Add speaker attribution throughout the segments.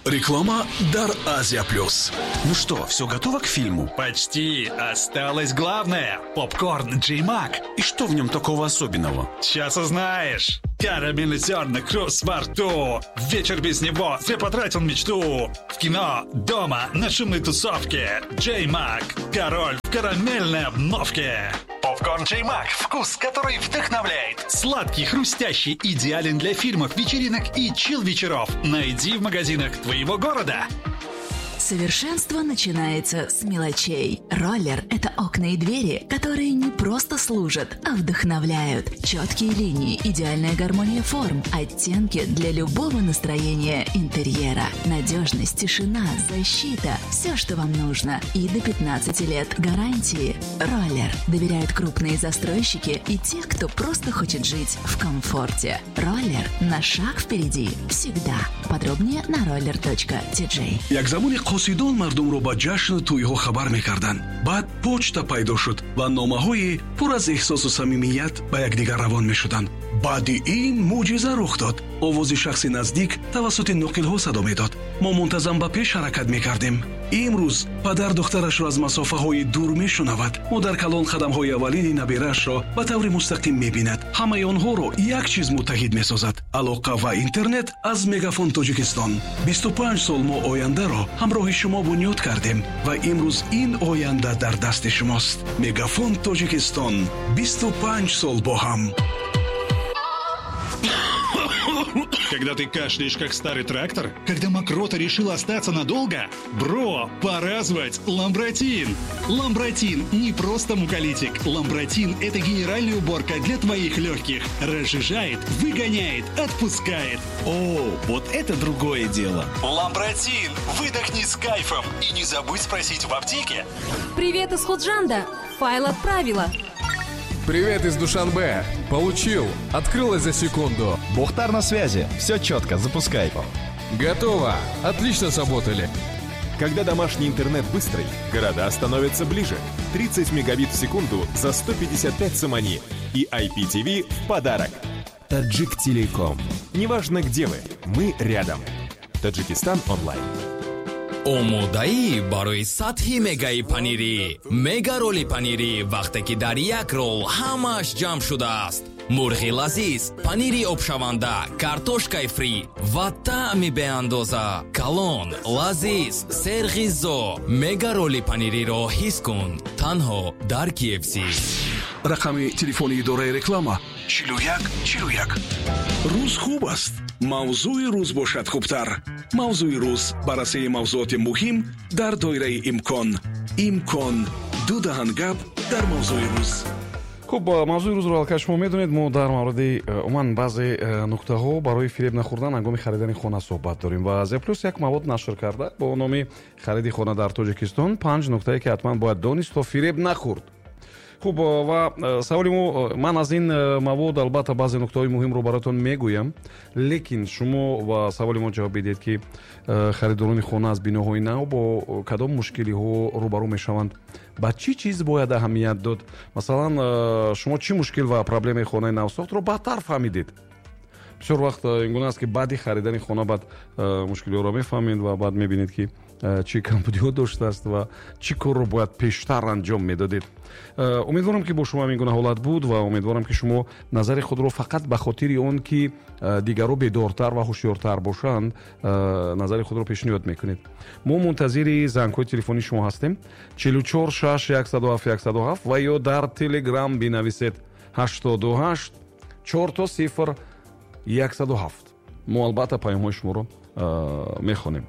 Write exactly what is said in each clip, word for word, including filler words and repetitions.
Speaker 1: Реклама дар Азия Плюс.
Speaker 2: Ну что, все готово к фильму?
Speaker 3: Почти. Осталось главное. Попкорн Джей Мак.
Speaker 2: И что в нем такого особенного?
Speaker 3: Сейчас узнаешь. Карамельный зерна, хруст во рту. Вечер без него, зря потратил мечту. В кино, дома, на шумной тусовке. Джей Мак. Король в карамельной обновке. Попкорн Джей Мак. Вкус, который вдохновляет. Сладкий, хрустящий, идеален для фильмов, вечеринок и чил-вечеров. Найди в магазинах твоего города.
Speaker 4: Совершенство начинается с мелочей. Роллер – это окна и двери, которые не просто служат, а вдохновляют. Четкие линии, идеальная гармония форм, оттенки для любого настроения интерьера. Надежность, тишина, защита – все, что вам нужно. И до пятнадцати лет гарантии. Роллер доверяют крупные застройщики и те, кто просто хочет жить в комфорте. Роллер на шаг впереди всегда. Подробнее на roller точка ти джей.
Speaker 1: Як замони қосидон мардумро ба ҷашну тӯйҳо хабар мекарданд. Баъд почта пайдо шуд ва номаҳои пур аз эҳсосу самимият ба якдигар равон мешуданд. Баъди ин мӯъҷиза рух дод. Овози шахси наздик тавассути ноқилҳо садо медод. Мо мунтазам ба пеш ҳаракат мекардем. Имрӯз падар духтарашро аз масофаҳои дур мешунавад. Модар калон қадамҳои аввалини набираашро ба таври мустақим мебинад. Ҳамаи онҳоро як чиз муттаҳид месозад: алоқа ва интернет аз Мегафон Тоҷикистон. Бисту панҷ сол мо ояндаро ҳамроҳи шумо бунёд кардем ва имрӯз ин оянда дар дасти шумост. Мегафон Тоҷикистон. Бисту панҷ сол бо ҳам.
Speaker 3: Когда ты кашляешь, как старый трактор? Когда мокрота решила остаться надолго? Бро, пора звать Ламбратин! Ламбратин не просто муколитик. Ламбратин – это генеральная уборка для твоих легких. Разжижает, выгоняет, отпускает.
Speaker 2: О, вот это другое дело!
Speaker 3: Ламбратин! Выдохни с кайфом! И не забудь спросить в аптеке.
Speaker 5: Привет из Худжанда! Файл отправила.
Speaker 6: Привет из Душанбе. Получил. Открылось за секунду.
Speaker 7: Бухтар на связи. Все четко. Запускай.
Speaker 6: Готово. Отлично сработали.
Speaker 8: Когда домашний интернет быстрый, города становятся ближе. тридцать мегабит в секунду за сто пятьдесят пять сомони. И ай пи ти ви в подарок. Таджик Телеком. Неважно, где вы, мы рядом. Таджикистан онлайн.
Speaker 9: Омодаӣ барои сатҳи мегаи панирӣ. Мега роли панирӣ вақте ки дар як рол ҳамааш ҷамъ шудааст. Мурғи лазиз, панири обшаванда, картошкаи фри ва таъми беандоза. Калон, лазиз, серғизо. Мега роли панириро ҳис кун. Танҳо дар кей эф си.
Speaker 1: Рақами телефони идораи реклама чилу як чилу як. Рӯз хуб аст. Мавзӯи рӯз бошад хубтар. Мавзӯи рӯз баррасии мавзӯоти муҳим дар доираи имкон. Имкон. Ду даҳан гап дар мавзӯи рӯз.
Speaker 10: Хуб, мавзӯи рӯзро аллакай шумо медонед. Мо дар мавриди умуман баъзе нуктаҳо барои фиреб нахӯрдан ҳангоми харидани хона суҳбат дорем ва Азия Плюс як мавод нашр карда бо номи хариди хона дар Тоҷикистон, панҷ нуктае ки ҳатман бояд донист то фиреб нахӯрд. Хуб, ва саволи мо, ман аз ин мавод албатта баъзе нуктаҳои муҳимро бароятон мегӯям, лекин шумо ва саволи мо ҷавоб бидиҳед, ки харидорони хона аз биноҳои нав бо кадом мушкилиҳо рӯбарӯ мешаванд, ба чӣ чиз бояд аҳамият дод. Масалан, шумо чӣ мушкил ва проблемаи хонаи навсохтро баъдтар фаҳмидед? Бисёр вақт ин гуна аст, ки баъди харидани хона баъд мушкилиҳоро мефаҳмед ва баъд мебинед, ки чӣ камбудиҳо доштааст ва чӣ корро бояд пештар анҷом медодед. Умедворам, ки бо шумо ҳамин гуна ҳолат буд ва умедворам, ки шумо назари худро фақат ба хотири он, ки дигарро бедортар ва ҳушёртар бошанд, назари худро пешниҳод мекунед. Мо мунтазири зангҳои телефонии шумо ҳастем. чилу чор шаш яксаду ҳафт яксаду ҳафт ва ё дар Телеграм бинависед ҳаштоду ҳашт чор то сифр яксаду ҳафт. Мо албатта паёмҳои шуморо мехонем.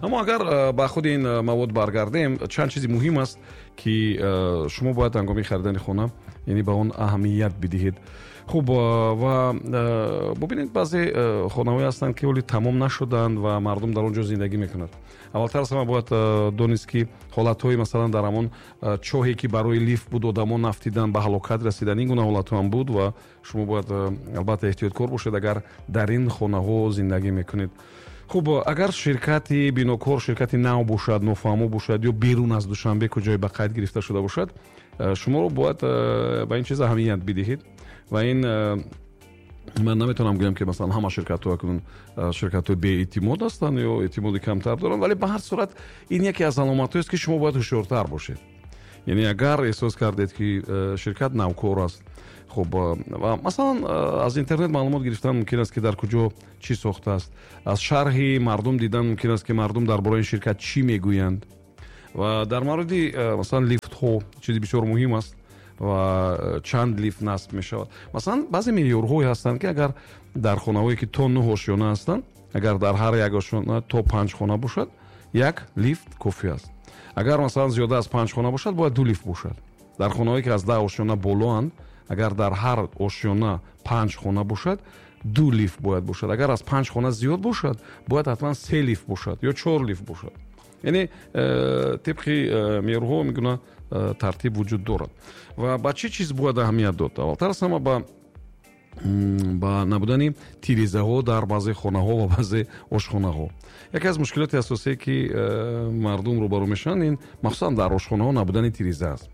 Speaker 10: Аммо агар ба худи ин мавод баргардем, чанд чизи муҳим аст, ки шумо бояд ҳангоми харидани хона, яъне ба он аҳамият бидиҳед. Хуб, ва бубинед, баъзе хонаҳое ҳастанд, ки ҳоле тамом нашуданд ва мардум дар он ҷо зиндагӣ мекунад. Аввалтар аз ҳама бояд донист, ки ҳолатҳои масалан дар ҳамон чоҳе, ки барои лифт буд, одамон нафтидан, ба ҳалокат расидан, ин гуна ҳолатҳо ҳам буд ва шумо бояд албатта эҳтиёткор бошед, агар дар ин хонаҳо зиндагӣ мекунед. Хуб, агар ширкати бинокор ширкати нав бошад, нофаҳмо бошад ё берун аз Душанбе куҷое ба қайд гирифта шуда бошад, шуморо бояд ба ин чиз аҳамият бидиҳед ва ин Ман наметавонам гӯям, ки масалан ҳама ширкатҳо акнун ширкатҳои беэътимод ҳастанд ё эътимоди камтар доранд, вале ба ҳар сурат ин яке аз аломатҳоест, ки шумо бояд ҳушёртар бошед. Яъне агар эҳсос кардед, ки ширкат навкор аст, хуб, ва масалан аз интернет маълумот гирифтан мумкин аст, ки дар куҷо чӣ сохтааст, аз шарҳи мардум дидан мумкин аст, ки мардум дар бораи ин ширкат чӣ мегӯянд. Ва дар мавриди масалан лифтҳо чизи бисёр муҳим аст ва чанд лифт насб мешавад. Масалан баъзе меъёрҳое ҳастанд, ки агар дар хонаҳое, ки то нӯҳ ошёна ҳастанд, агар дар ҳар як ошёна то панҷ хона бошад, як лифт кофӣ аст. Агар масалан зиёда аз панҷ хона бошад, бояд ду лифт бошад. Дар хонаҳое, ки аз даҳ ошёна болоанд, агар дар ҳар ошёна панҷ хона бошад, ду лифт бояд бошад. Агар аз панҷ хона зиёд бошад, бояд ҳатман се лифт бошад ё чор лифт бошад. Яъне тибқи меъёрҳо мегуна тартиб вуҷуд дорад. Ва ба чӣ чиз бояд аҳамият дод? Аввалтар аз ҳама ба ба набудани тирезаҳо дар баъзе хонаҳо ва баъзе ошхонаҳо. Яке аз мушкилоти асосие, ки мардум рӯбарӯ мешаванд, ин махсусан дар ошхонаҳо набудани тиреза аст.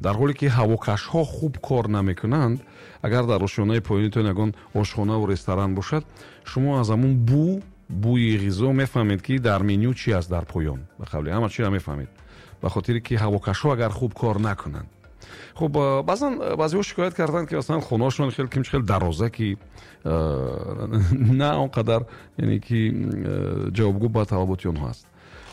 Speaker 10: Дар ҳоле ки ҳавокашҳо хуб кор намекунанд, агар дар ошёнаи поёнитон ягон ошхонаву ресторан бошад, шумо аз ҳамун бу бӯи ғизо мефаҳмед, ки дар меню чӣ аст дар поён. Ба қавли ҳама чиро мефаҳмед, ба хотире ки ҳавокашҳо агар хуб кор накунанд. Хуб, баъзан баъзеҳо шикоят карданд, ки масалан хонаҳошон хеле кимч хеле дароза, ки на он қадар, яъне ки ҷавобгӯ ба талаботи онҳо аст.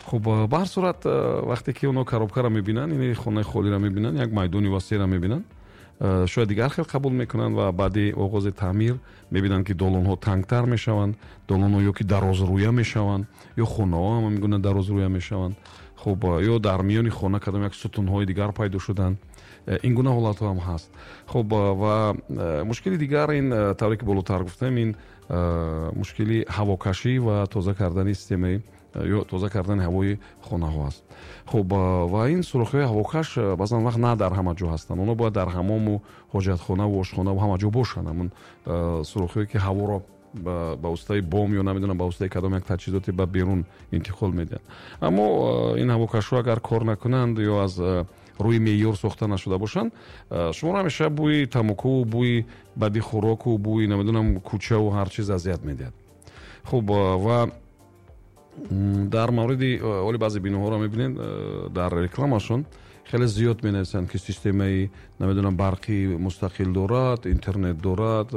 Speaker 10: Хуб, ба ҳар сурат вақте ки онҳо коробкаро мебинанд, яъне хонаи холиро мебинанд, як майдони васеъро мебинанд, шояд дигар хел қабул мекунанд ва баъди оғози таъмир мебинанд, ки долонҳо тангтар мешаванд, долонҳо ё ки дарозрӯя мешаванд, ё хонаҳо ҳам мегӯянд дарозрӯя мешаванд. Хуб, ё дар миёни хона кадом як сутунҳои дигар пайдо шуданд. Ин гуна ҳолатҳо ҳам ҳаст. Хуб, ва мушкили дигар ин, тавре ки болотар гуфтам, ин мушкили ҳавокашӣ ва тоза кардани системаи ё тоза кардани ҳавои хонаҳо аст. Хуб, ва ин сӯрохиҳои ҳавокаш баъзан вақт на дар ҳама ҷо ҳастанд. Онҳо бояд дар ҳамому ҳоҷатхонаву ошхонаву ҳама ҷо бошанд. Ҳамун сӯрохиҳое, ки ҳаворо ба воситаи бом ё намедонам ба воситаи кадом як таҷҳизоте ба берун интиқол медиҳанд. Аммо ин ҳавокашҳо агар кор накунанд ё аз рӯи меъёр сохта нашуда бошанд, шуморо ҳамеша бӯи тамоку, бӯи бади хӯроку, бӯи намедонам кӯчаву ҳар чиз азият медиҳад. Хуб, ва дар мавриди оли баъзе биноҳоро мебинед, дар рекламашон хеле зиёд менависанд, ки системаи намедонам барқи мустақил дорад, интернет дорад,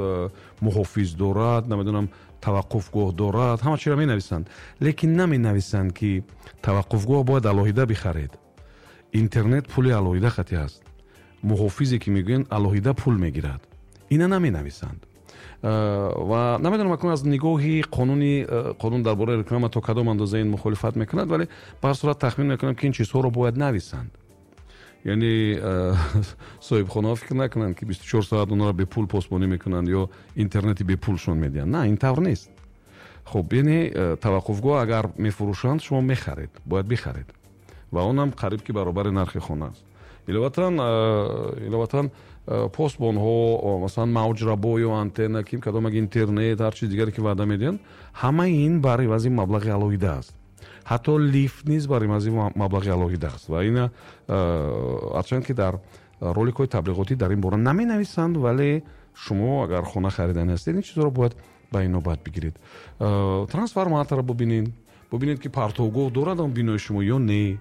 Speaker 10: муҳофиз дорад, намедонам таваққуфгоҳ дорад, ҳама чиро менависанд. Лекин наменависанд, ки таваққуфгоҳ бояд алоҳида бихаред, интернет пули алоҳида хати аст, муҳофизе ки мегӯянд алоҳида пул мегирад. Ина наменависанд. Ва намедонам акнун аз нигоҳи қонуни қонун дар бораи реклама то кадом андоза ин мухолифат мекунад, вале ба ҳар сурат тахмин мекунам, ки ин чизҳоро бояд нависанд. Яъне соҳибхонаҳо фикр накунанд, ки бисту чор соат онҳоро бепул посбонӣ мекунанд ё интернети бепулшон медиҳанд. На, ин тавр нест. Хуб, яъне таваққуфгоҳ агар мефурӯшанд, шумо мехаред, бояд бихаред ва онам қариб ки баробари нархи хона аст. Иловатан иловатан посбонҳо, масалан мавҷрабо ё антенна, ким кадом як интернет, ҳар чиз дигаре ки ваъда медиҳанд, ҳамаи ин бар ивази маблағи алоҳида аст. Ҳатто лифт низ бар ивази маблағи алоҳида аст. Ва ина ҳарчанд ки дар роликҳои таблиғотӣ дар ин бора наменависанд, вале шумо агар хона хариданӣ ҳастед, ин чизҳоро бояд ба инобат бигиред. Трансформаторро бубинед, бубинед, ки партовгоҳ дорад он бинои шумо ё не.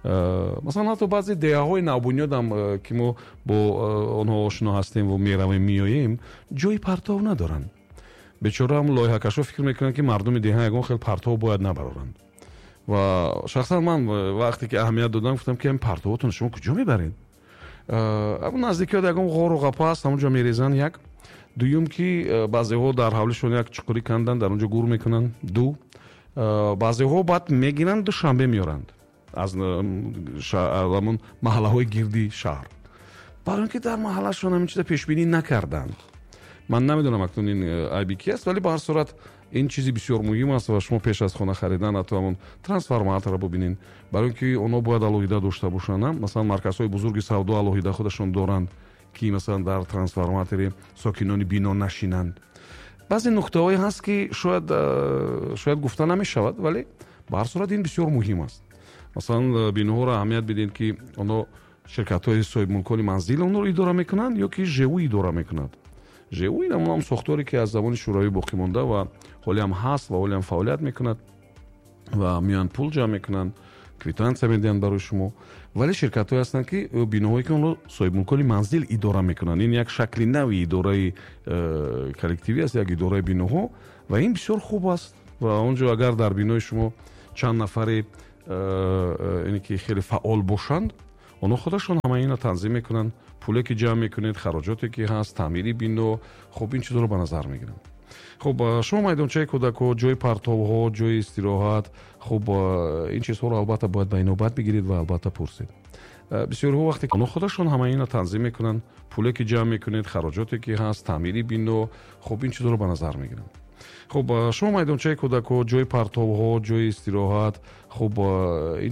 Speaker 10: Масалан ҳатто баъзе деҳаҳои навбунёдам, ки мо бо онҳо ошно ҳастем ва меравем меоем, ҷои партов надоранд. Бечораам лоиҳакашҳо фикр мекунанд, ки мардуми деҳа ягон хел партов бояд набароранд. Ва шахсан ман вақте ки аҳамият додам, гуфтам, ки ин партовотон шумо куҷо мебаред? Ҳамон наздикиҳо ягон ғору ғапа аст, ҳамон ҷо мерезанд як. Дуюм, ки баъзеҳо дар ҳавлишон як чуқурӣ канданд, дар он ҷо гур мекунанд. Ду, баъзеҳо баъд мегиранд, душанбе меоранд аз ҳамон маҳаллаҳои гирди шаҳр, барои ин ки дар маҳаллашон ҳамин чиза пешбинӣ накарданд. Ман намедонам акнун ин айби ки аст, вале ба ҳар сурат ин чизи бисёр муҳим аст ва шумо пеш аз хона харидан ҳатто ҳамон трансформаторро бубинед, барои ин ки онҳо бояд алоҳида дошта бошанд. Масалан марказҳои бузурги савдо алоҳида худашон доранд, ки масалан дар трансформатори сокинони бино нашинанд. Баъзе нуқтаҳое ҳаст, ки шояд шояд гуфта намешавад, вале ба ҳар сурат ин бисёр муҳим аст. Масалан биноҳоро аҳамият бидиҳед, ки онҳо ширкатҳои соҳибмулкони манзил онҳоро идора мекунанд ё ки ЖУ идора мекунад. Ж Э У ин ҳам сохторе, ки аз замони Шӯравӣ боқӣ монда ва ҳоле ҳам ҳаст ва ҳоле ҳам фаъолият мекунад ва меоянд, пул ҷамъ мекунанд, квитансия медиҳанд барои шумо. Вале ширкатҳое ҳастанд, ки биноҳое, ки онро соҳибмулкони манзил идора мекунанд. Ин як шакли нави идораи э, коллективӣ аст, як идораи биноҳо, ва ин бисёр хуб аст. Ва он ҷо агар дар бинои шумо чанд нафаре э, э, ине ки хеле фаъол бошанд, онҳо худашон ҳама инро танзим мекунанд. Пуле ки ҷамъ мекунед, хароҷоте ки ҳаст, таъмири бино, хуб, ин чизҳоро ба назар мегиранд. Хуб, шумо майдончаи кӯдакҳо, ҷои партовҳо, ҷои истироҳат, хуб, ин чизҳоро албатта бояд ба инобат бигиред ва албатта пурсед. Бисёриҳо вақте онҳо худашон ҳама инро танзим мекунанд, пуле ки ҷамъ мекунед, хароҷоте ки ҳаст, таъмири бино, хуб, ин чизҳоро ба назар мегиранд. Хуб, шумо майдончаи кӯдакҳо, ҷои партовҳо, ҷои истироҳат, хуб, ин